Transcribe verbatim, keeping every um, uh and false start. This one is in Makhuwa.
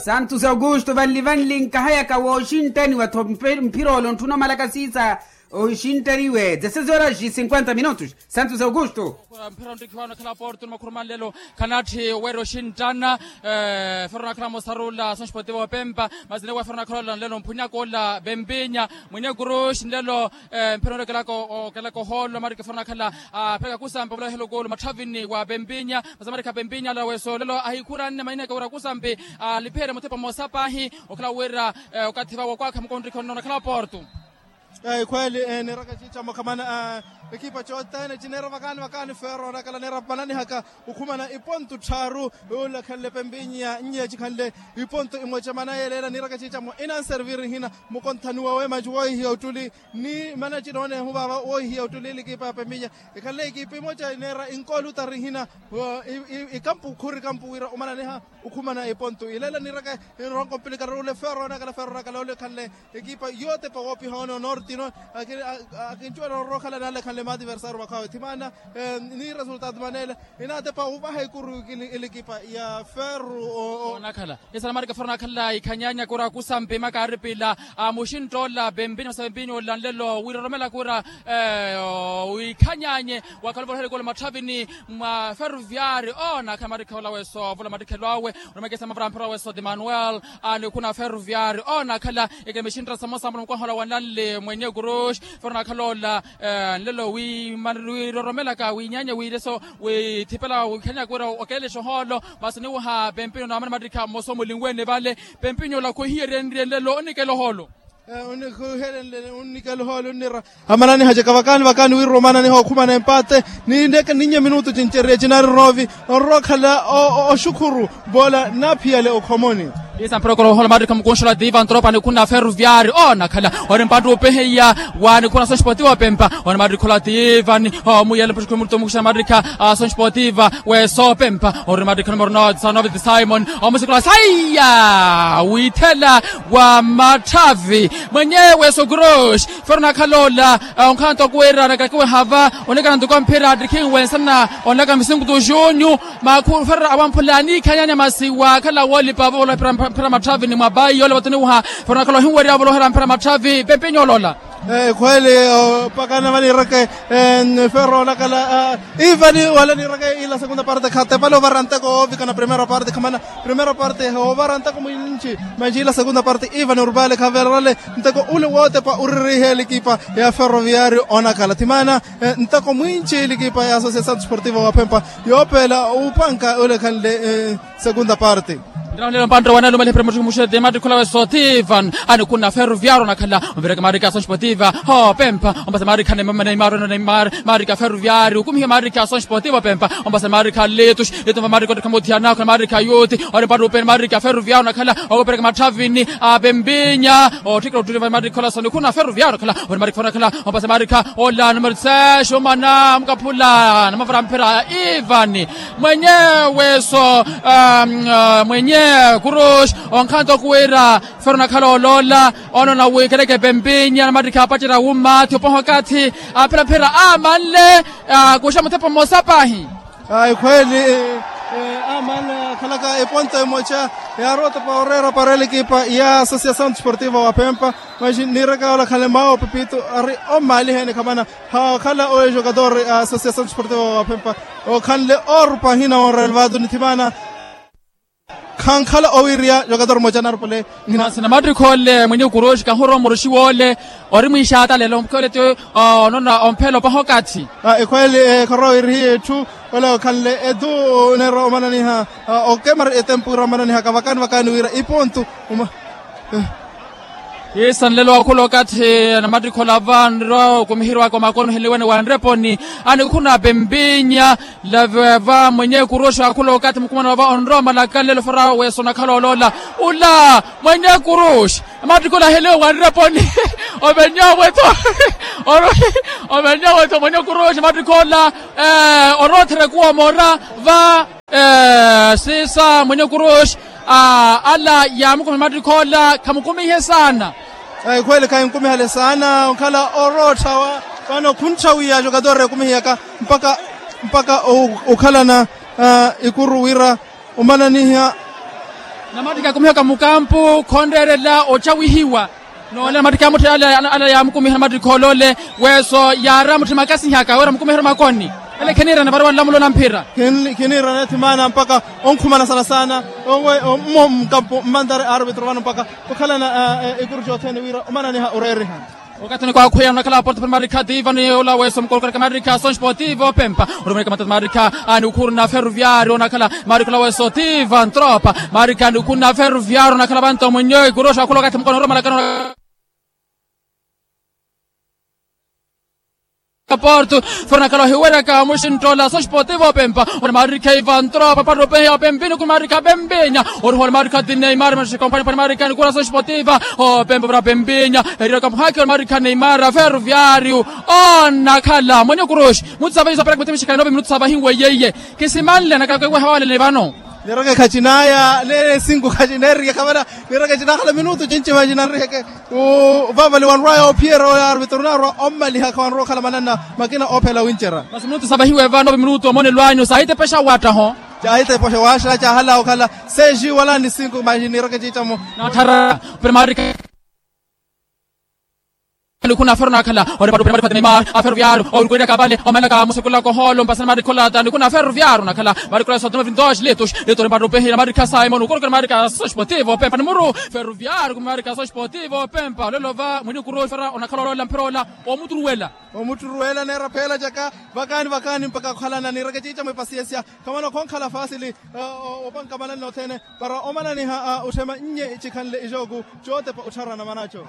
Santos augusto vanli vanli nkahayaka wooxinttaniwa-tho. Mphira ole ontthuna omalaka siisa oxinttaniwe dezesseis horas e cinquenta minutos. Santos augusto. Mphira onttiki wano akhala porto ni makhuruma nlelo. Khanatthi weera oxinttana. Ferro nakhala mosaruula sonxpotivo opempa. Masi newa ferro nakhala ola nlelo mphunyaka ola pempinya. Mwinye kuruxi nlelo. Mphira onrekelaka okelaka ohoolo marika ferro nakhala. Apheka kusampa vula ohelokolo matthavini wa pempinya. Masi marika pempinya ala weso lelo ahikhuranne maineke wira kusampi. Alipheere muthepa mosa paahi. Okhala wira okathi vawo kwaakha mukontrikhi onnoona okhala porto. Ekhweeli. Niiraka ciica mukhamana. Ekipa cothene cineera vakaani vakaani ferro onakhala neera vananihaka. Okhumana iponto tthaaru. Olakhanle pempinya nnye cikhanle iponto imoca mana yeeleela niiraka ciica mo inanserviri hina. Mukonthani wawe manci woohihiya ottuli ni mana cinoonehu vaava woohihiya ottuli likipa ya pempinya. Ekhanle ekipa imoca ineera inkoolutari hina. Ikampu khuri kampu wira omananiha. Okhumana eponto ileela niiraka. Enronko mpilikari ole ferro onakhala ferro onakhala ole ekhanle ekipa yootepa woopiha one onortino. Akincuwela orokhala nale ekhanle maativersario vakhawe thimaana. Ni resultado maneela. Inaatepa ovaha ekuru. Elikipa ya ferro onakhala. Esana marika ferro onakhala ikhanyanya kura kusampi makaaripila. Muxinttoola pempinya masa pempinya ola nlelo wiroromela kura. Wikhanyanye wakhala ovolohela ekolo matthavini mwa ferroviari. Onakhala marikha ola weso ovola marikhelo awe. Oromekesa mavara mphira weso ti manuel. Anikhuna ferroviari onakhala. Ekemexinttara samosa mula mukwaha ola wa nanle mwenye kuruxi. Ferro onakhala ola nlelo wiroromelaka winyanya wiileso withipela wikhanyaka wira okeelexa ohoolo. Masi niwaha pempinyo naamana marikha mmosa omulinwene vale. Pempinyo ola khwihiyerenrye nlelo onikela ohoolo. Onnikhuhelenle onnikela ohoolo onnira. Amananihacaka vakaani vakaani wira omananiha okhumana empate. Ninneke ninnye minutu cincerye cinaari roovi. Onrowa okhala oxukhuru. Voola naaphiyale okhomoni. Isa mphira okhala ohoolo marikha mukunxola tiiva ntropa nikhuna ferroviari onakhala. Ori mpantti opeheya wa nikhuna sonxpotivo pempa. Ori marikha ola tiivani. Omuyele mpuxukhu murto mukuxa marikha sonxpotivo. Weso pempa ori marikha numero nove simon. Omusikula saiya withela wa matthavi mwenyewe sokuroxi. Ferro onakhala ola onkhanto okuwira nakakiwe hava. Onekana ntuku amphira attikhinwe nsana onaka misinkutu junyu. Makhu ferro awamphula aniikhanyanya masi waakhala woolipa vovoloha mphira matthavi ni mwapayi yoole vatuniwaha. Ferro onakhala ohinwerya vovoloha mphira matthavi pempinyo olola. Ekhweeli opakana vaniireke. Ferro onakhala ivani wala niireke ila segunda parte khatepale ovara nteko oovikana primera parte khamana. Primera parte hoovara nteko mwinci. Manci ila segunda parte ivani urupale khaverale nteko ule wootepa uririhe elikipa ya ferroviario onakhala thimana. Nteko mwinci elikipa ya associação desportiva wa phempa yoopeela upanka ule khanle. Segunda parte. Nrano lelo mpantta wanalumela ephira mutthikhi muxete maattikhu olawe sotivan. Anikhuna ferroviario onakhala. Omvireke maarikha sonxpotiva. Hopempa ompasa maarikha neimar neimar. Maarikha ferroviario okumihiwa maarikha sonxpotiva opempa. Ompasa maarikha letus. Letus maarikha ottikha muthiyana okhala maarikha yuti. Ori mpantta upeni maarikha ferroviario onakhala. Okupereke matthavini apempinya. Otthikira ottuli maarikha ola sonikhuna ferroviario onakhala. Ori maarikha ferroviario onakhala. Ompasa maarikha ola numero seis omana mukaphula namavara mphira ivani. Mwenyewe so mwenye kuruxi. Onkhanto okuwira ferro onakhala oloola. Onoona wikeleke pempinya namattikhi apacerya wummaathi opoha okathi. Aphiraphira amanle akuxa muthepa mmosa paahi. Ekhweeli. Amanle akhalaka eponto emoca yaarowa otepa oreera para elikipa ya associação desportiva wa phempa. Manxi niiraka ola khale mawo pepito ari omaaliha ene khamana. Hakhala oyo jogador a associação desportiva wa phempa okhanle orupa ahina onrelvado nithimana. Khankhala owiiriya jogador moca narupale. Nhina sina mattikho ole mwenye kuroxi kahurowa muroxi woole. Ori mwiixaata lelo mukhoole ti onona omphela opaha okathi. Ekhweeli. Khorowa owiirihiya etthu ole okhanle etu neera omananiha okemari etempu ira omananihaka vakaani vakaani wira ipontu. Isa nlelo wa khula okathi namattikhola va nrowa okumihiriwaka omakono hiniwene wa nreponi. Anikhuna pempinya laveva mwenye kuroxa wa khula okathi mukumana wava onrowa malaka nlelo faraha wesonakhala oloola. Ula mwenye kuroxa namattikhola hiniwe wa nreponi. Ovenyowe tho ovenyowe tho mwenye kuroxa namattikhola. Orothere kuwa mora va. Sisa mwenye kuruxi ala yaamukumiha mattikho ola khamukumihe saana. Ekhweeli khahinkumihale saana onkhala orootthawa. Vano khuntthawiya jogador ekumihiyaka mpakha mpakha okhalana ikuru wira omananiha. Namattikhi akumihiwaka mukampu khonreerela ocawihiwa. Noole namattikhi amutthela ala yaamukumiherya namattikhi olole. Weeso yaari amutthi makasihaka wira amukumihero makoni. Ele khiniirana vari wanlamulo na mphira. Khiniirana ethi maana mpakha onkhumana sana sana. Mmo mukampu mmantari aarupitru vano mpakha okhalana ikuru cothene wira omananiha oreeriha. Okathini kwakhweya onakhala aporto pari marikha tiva ni ola weso mukolokora ka marikha sons potivo pempa. Orumweka matatu marikha ni ukhuru na ferroviario onakhala marikha ola weso tiva ntropa. Marikha ni ukhuru na ferroviario onakhala vanto mwinyo ikuroxa akhula okathi mukono oromalakano. Porto fernakhala ohiweraka muxintola sons potivo pempa. Ora marikha iva ntropa parupehi opempini ku marikha pempinya. Orihole marikha ti neimar mashikompani pani marikha ni kura sons potivo. Opempa para pempinya. Erira kamuhaki ora marikha neimar ferroviario. Onakhala mwenye kuroxi mutsavahi sopera kumutimixikana nove minutu savahiwe yeye. Kisimanle nakakweweha wale ni vano. Niraka ekhacinaya nene sinku khacineerike khavana. Niraka ecinakhala minutu cinci vacinanriheke. Vavali wanrwaya ophiyeera oya arvitru narwa ommalihaka wanrwa okhala mananna. Makina ophela wincerya. Masi minutu savahiwe vano minutu omonelo anyu saahitepexa wattaho. Caahitepexa waxa caahala okhala. Seji wala ni sinku masi niraka eciicamo. Nattharara. Primarika. Nikhuna aferu nakhala ori patu pena marikha tene ma aferu viaru orukwirya kapale omalaka musekula koholo mpasana marikha olata nikhuna aferu viaru nakhala marikha ola sotoma vintos litus. Litus ori patu pehira marikha simon ukorokera marikha sosportivo pempa ni muru. Feru viaru kumi marikha sosportivo pempa olelo va mwini kuru ifera onakhala olola mphira ola. Omutturuwela. Omutturuwela neera pheela caka. Vakaani vakaani mpakha okhalana nireke ciica mwe pasiensia. Khamana khonkhala fasili. Opanka manani nothene para omananiha utthema nnye cikhanle icooku. Cootepa ottharana manaco.